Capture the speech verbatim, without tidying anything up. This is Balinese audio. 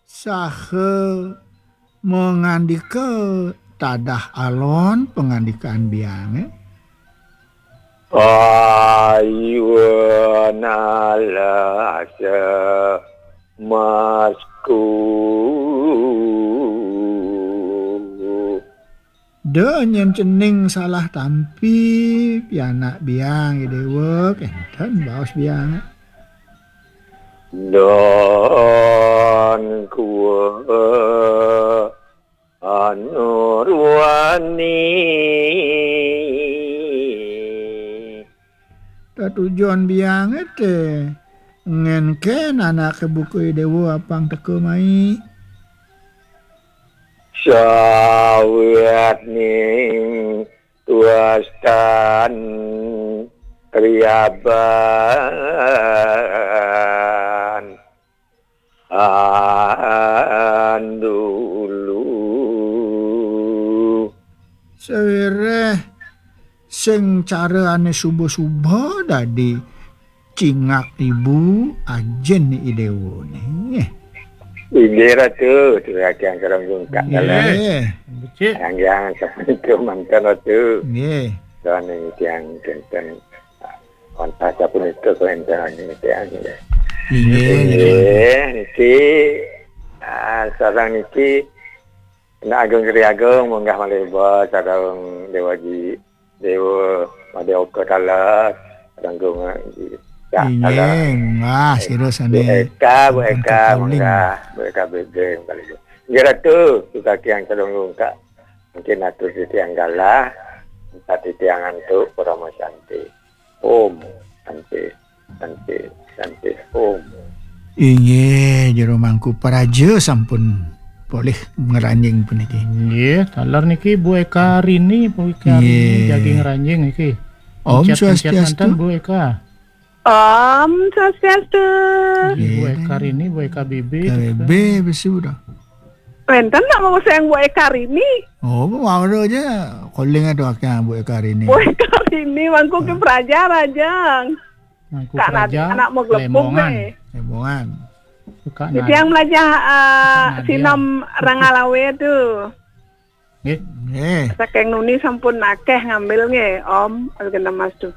Saha mangandika tadah alon pangandikan biange? Ayu nalasa masku. Da nyen cening salah tampi, pianak biang I Dewa, kenten baos biange. Don kua anurwani. Tetujon biange te ngenken anake buka I Dewa apang teka mai. Sawetning tuastan riaban andulu. Sawiréh sing cara ané suba-suba dadi cingak ibu ajin I Déwané. Inggih Ratu, titiang sareng Gungkak. Nggih. Dalam. Becik. Anggiang sapunika manten Ratu. Nggih. Sané titiang kinten wantah sapunika kawéntenan titiang. Inggih. Inggih, niki, ah, sareng niki Anak Agung Sri Agung munggah malih iba sareng Déwa Ji, Déwa Madé Oka Talas, sareng Gung Ji. Ya, Inggih, talas. Munggah sira Bu sané Eka, Bu sampun Eka, kaling. Munggah, Bu Eka Bébé, munggah malih iba. Inggih Ratu, sukaki yang sareng Gungkak. Mungkin atur titiang galah, minta titiang antuk parama santi. Om Santi, Santi, Santi, Om. Inggih, Jero Mangku Praja sampun polih ngranjing puniki. Inggih, taler niki Bu Eka Rini, Bu Eka Rini Inggih. Jagi ngranjing niki. Om Pencet-pencet Swastiastu. Manten, Bu Eka. Om Swastiastu. Inggih, Bu Inggih. Eka Rini, Bu Eka Bébé, Eka gitu. Bébé, besu dah. Wénten nak mau sayang Bu Eka Rini? Oh, mau ada aja. Calling ada akang Bu Eka Rini. Bu Eka Rini, Mangku ki Praja, Rajang. Mangku Kak Praja, anak mau gelepung Lembongan. Deh. Lembongan. Kak Titiang Nad-, melajah, eh, Kak Nadia. Sinom Rangalawe tu. Nggih. Nggih. Saking nuni sampun akeh ngambil nggih, Om. Alkena Mas tu.